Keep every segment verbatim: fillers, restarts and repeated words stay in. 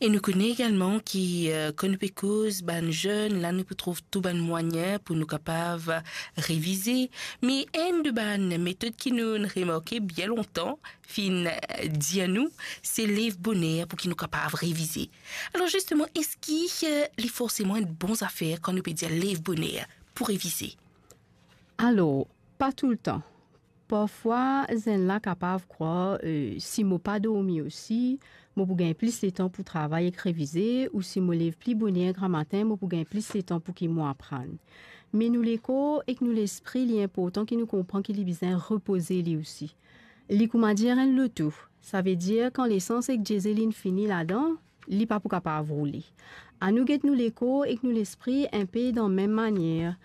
E nou kone egalman ki, eh, kan nou pe koz bann zenn, la nou pou trouv tou bann mwayin pou nou kapav revize. Me enn de bann metod ki nou remarke bien lontan, finn, eh, dir nou, se lev boner pou ki nou kapav revize. Alor zisteman, eski, eh, li forseman enn bon zafer kan nou pe dir lev boner pou revize? Alor, pa toultan. Parfwa, zenn la kapav krwar, eh, si mo pa dormi osi, mo pou gagn plis letan pou travay ek revize, ou si mo lev pli boner gramatin, mo pou gagn plis letan pou ki mo aprann. Me nou lekor ek nou lespri, li inportan ki nou konpran ki li bizin repoze li osi. Li kouma dir enn loto, savedir kan lesans ek diesel inn fini ladan, li pa pou kapav roule. Anou get nou lekor ek nou lespri inpe dan mem manier.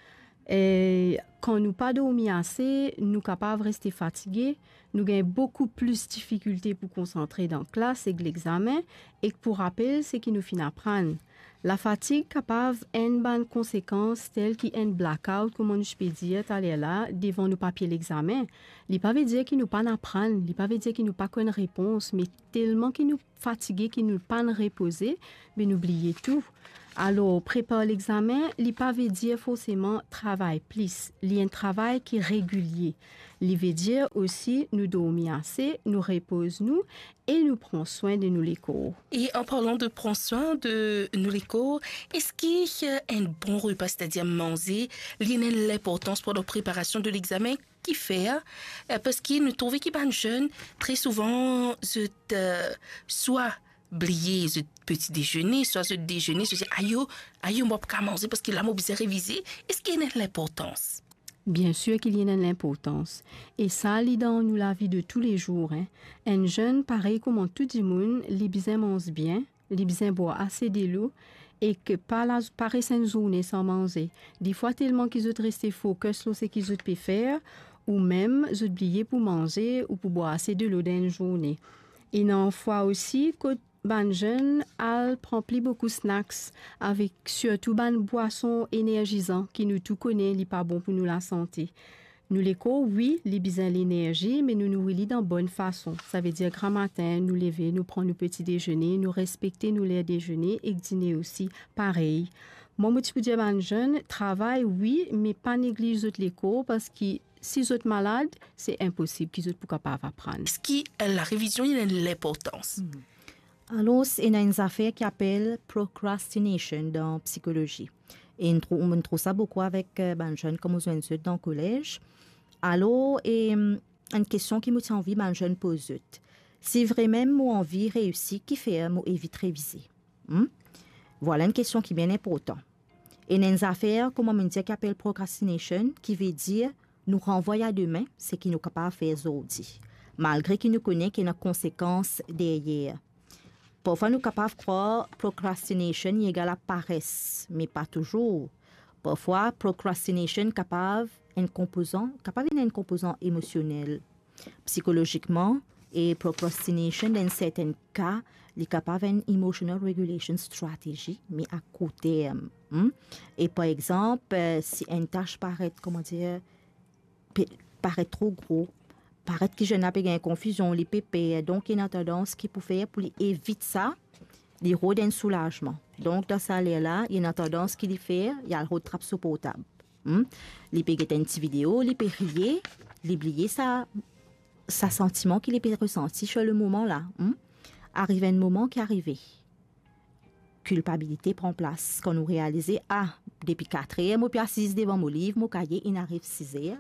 E kan nou pa dormi ase, nou kapav reste fatige, nou gagn boukou plis difikilte pou konsantre dan klas ek lexamen, ek pou rapel seki nou finn aprann. Lafatig kapav enn bann konsekans tel ki enn blackout, kouma nou ti pe dir taler la, devan nou papie lexamen. Li pa ve dir ki nou pa'nn aprann, li pa ve dir ki nou pa konn repons, me telman ki nou fatige, ki nou pa'nn repoze, be nou bliye tou. Alor, prepar lexamen, li pa ve dir forseman travay plis. Li enn travay ki regilie. Li ve dir osi nou dormi ase, nou repoz nou e nou pran swin de nou lekor. E an parlan de pran swin de nou lekor, eski, eh, enn bon repa, setadir manze, li ena enn linportans pandan preparasion de lexamen? Kifer, eh, parski nou trouve ki bann zenn, tre souvan, zot, eh, swa bliye zot peti dezene, swa zot dezene, zot dir, "Ayo, ayo, mo pa kapav manze parski la mo bizin revize." Eski ena enn linportans? Biensir ki li ena enn linportans. E sa, li dan nou lavi de toulezour, en. Enn zenn, parey kouma tou dimoun, li bizin manz bien, li bizin bwar ase delo, ek pa la, pa res enn zourne san manze. Defwa, telman ki zot reste focus lor seki zot pe fer, ou mem zot bliye pou manze ou pou bwar ase delo dan enn zourne. Ena fwa osi kot bann zenn al pran pli boukou snacks, avek sirtou bann bwason enerzizan ki nou tou kone li pa bon pou nou lasante. Nou lekor, wi, li bizin lenerzi, me nou nouri li dan bonn fason. Savedir gramatin, nou leve, nou pran nou peti dezene, nou respekte nou ler dezene ek dine osi, parey. Mwa, mo ti pou dir bann zenn, travay, wi, me pa negliz zot lekor, parski si zot malad, se inposib ki zot pou kapav aprann. Eski, eh, larevizion, li ena enn linportans? Mhm. Alor, ena enn zafer ki apel procrastination dan psikolozi. E nou trou-, nou trouv sa boukou avek, eh, bann zenn, kouma zot ena zot dan kolez. Alor, e, enn kestion ki mo ti anvi bann zenn poz zot. Si vremem mo anvi reisi, kifer mo evit revize? Hmm? Vwala enn kestion ki bien inportan. Ena enn zafer, kouma mo dir, ki apel procrastination, ki ve dir nou ranvway a demin seki nou kapav fer zordi, malgre ki nou kone ki ena konsekans deryer. Parfwa nou kapav krwar procrastination li egal a pares, me pa touzour. Parfwa, procrastination kapav enn konpozan, kapav ena enn konpozan emosionel, psikolozikman, e procrastination, dan sertin ka, li kapav enn emotional regulation strategy, me a kour term, hmm? E par exanp, eh, si enn tas paret, kouma dir, pe-, paret tro gro, paret ki zenn la pe gagn konfizion, li pe per, donk ena tandans ki pou fer pou li evit sa, li rod enn soulazman. Donk, dan sa ler la, ena tandans ki li fer, li al rod trap so portab. Hmm? Li pe get enn ti video, li pe riye, li bliye sa, sa santiman ki li pe resanti sur le moman la. Hmm? Ariv enn moman ki arive, kilpabilite pran plas. Kan nou realize, ah, depi katrer, mo pe asiz devan mo liv, mo kaye, inn ariv sizer,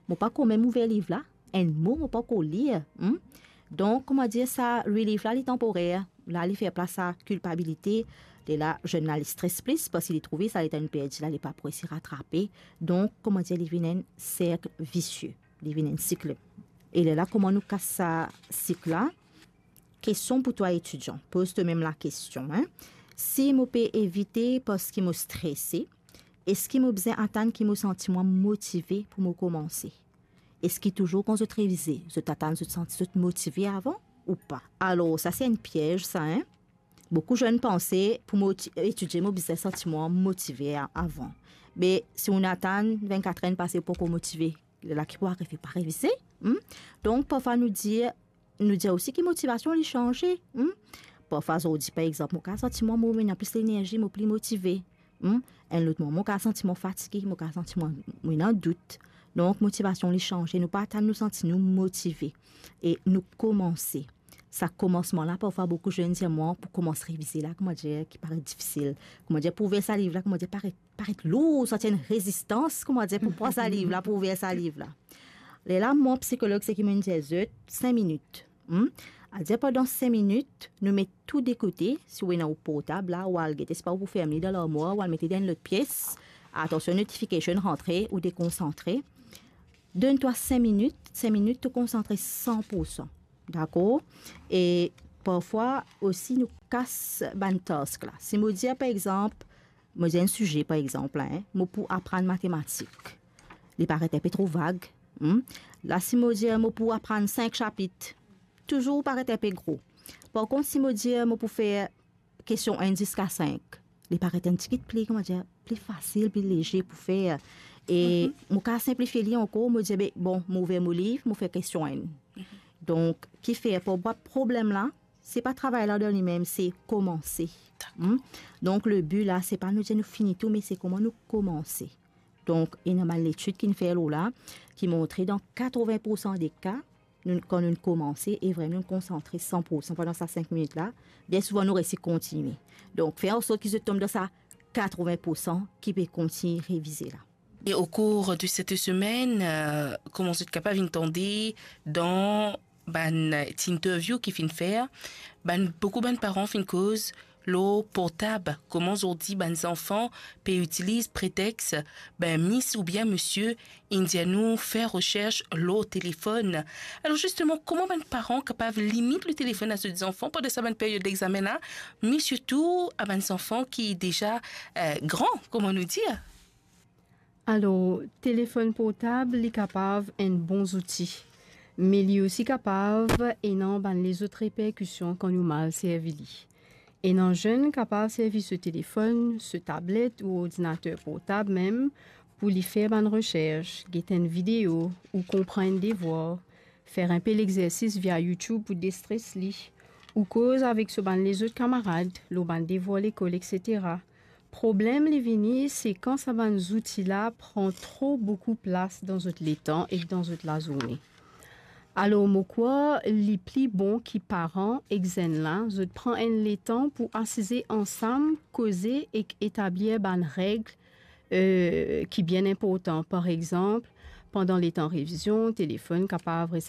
mo pa ankor mem ouver liv la, enn mo mo pa ankor lir, hmm? Donk, kouma dir, sa relief la, li tanporer. La, li fer plas a kilpabilite. Lerla, zenn la, li stres plis, parski li trouve sa letan li perdi la, li pa pou resi ratrape. Donk, kouma dir, li vinn enn serk visie. Li vinn enn sik. E lerla, kouma nou kas sa sik la? Kestion pou twa etidian. Poz twa mem lakestion, en. Si mo pe evite parski mo strese, eski mo bizin atann ki mo santi mwa motive pou mo koumanse? Eski touzour kan zot revize, zot atann zot santi zot motive avan ou pa? Alor, sa se enn piez sa, en. Boukou zenn panse, pou mo ti-, etidie, mo bizin santi mwa motive a-, avan. Me si ou atann vennkat er pase, ou pa ankor motive, lerla ki pou arive, pa revize, hmm? Donk, parfwa nou dir, nou dir osi ki motivasion li sanze, hmm? Parfwa zordi, par exanp, mo kapav santi mwa mo ena plis lenerzi, mo pli motive. Hmm? Enn lot moman, mo kapav santi mwa fatige, mo kapav santi mwa mo ena dout. Donk, motivasion li sanze. Nou pa atann nou santi nou motive e nou koumanse. Sa koumansman la, parfwa boukou zenn dir mwa, pou koumans revize la, koumadir, ki paret difisil. Koumadir, pou ouver sa liv la, koumadir, paret, paret lour, santi enn rezistans, koumadir, pou pran sa liv la, pou ouver sa liv la. Lerla, mwa, psikolog, seki mo'nn dir zot, sink minit. Hmm? Adir pandan sink minit, nou met tou de kote, si ou ena ou portab la, ou al gete, sipa ou pou ferm li dan larmwar, ou al met li dan enn lot pies. Atansion, notification rantre, ou dekonsantre. Donn twa sink minit, sink minit, to konsantre san pou san. Dakor? E parfwa osi, nou kas bann task la. Si mo dir, par exanp, mo dir enn size, par exanp, la, en, mo pou aprann matematik. Li paret enpe tro vag. Hmm? La, si mo dir mo pou aprann sink sapit, touzour paret enpe gro. Par kont, si mo dir mo pou fer kestion enn ziska sink, li paret enn tigit pli, koumadir, pli fasil, pli leze pou fer. E mo kapav sinplifie li ankor, mo dir, be, bon, mo ouver mo liv, mo fer kestion enn. Donk, kifer, pou bwa problem la, se pa travay la dan limem, se koumanse. Hmm? Donk, le bi la, se pa nou dir nou fini tou, me se kouma nou koumanse. Donk, ena bann letid ki'nn fer lor la, ki montre dan katreven pou san de ka, nou, kan nou koumanse, e vremem nou konsantre san pou san pandan sa sink minit la, bien souvan nou resi kontigne. Donk, fer ansort ki zot tom dan sa katreven pou san ki pe kontigne revize la. E o kour de set semenn, euh, kouma zot kapav inn tande dan bann ti interview ki finn fer, bann, boukou bann paran finn koz lor portab, kouma zordi bann zanfan pe itiliz pretex, be, mis oubien misie inn dir nou fer resers lor telefonn. Alor zisteman, kouma bann paran kapav limit le telefonn a zot zanfan pandan sa bann period lexamen la, me sirtou a bann zanfan ki deza, eh, gran, kouma nou dir? Alor, telefonn portab, li kapav enn bon zouti, me li osi kapav ena bann lezot reperkision kan nou mal servi li. Ena zenn kapav servi so telefonn, so tablet ou ordinater portab mem pou li fer bann resers, get enn video ou konpran enn devwar, fer enpe lexersis via YouTube pou destres li, ou koz avek so bann lezot kamarad lor bann devwar lekol, etsetera. Problem li vini, se kan sa bann zouti la pran tro boukou plas dan zot letan ek dan zot lazourne. Alor, mo krwar li pli bon ki paran ek zenn la, zot pran enn letan pou asize ansam, koze ek etablir bann reg, euh, ki bien inportan. Par exanp, pandan letan revizion, telefonn kapav res